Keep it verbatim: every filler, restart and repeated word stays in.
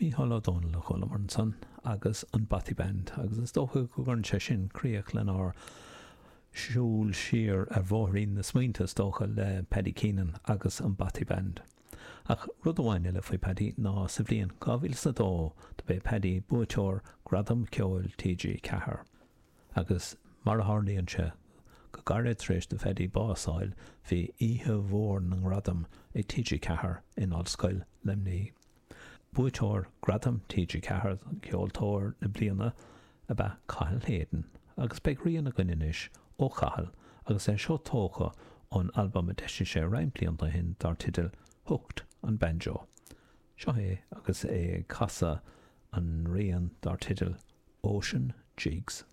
Mícheál Ó Domhnaill a chualamar ansan agus an Bothy Band agus is dócha go gcuireann sé sin críoch lenár siúl siar ar bhóithrín na smaointe is dócha le Paddy Keenan agus an Bothy Band. Ach rud amháin eile faoi Paddy ná sa bhliain dhá mhíle is a dó do b'é Paddy buaiteoir Gradam Ceoil TG Ceathair. Agus mar a tharlaíonn sé, go gairid tar éis do Phaddy bás a fháil bhí oíche mhór na ngradam ag TG Ceathair in Ollscoil Luimnigh. Buaiteoir Gradam TG Ceathair Ceoltóir na Bliana ab ea Cathal Hayden agus beidh rian againn anois ó Chathal agus é seo tógtha ón albam a d'eisigh sé roinnt blianta ó shin dar teideal Hooked on Banjo. Seo é agus é ag casadh an rian dar teideal Ocean Jigs.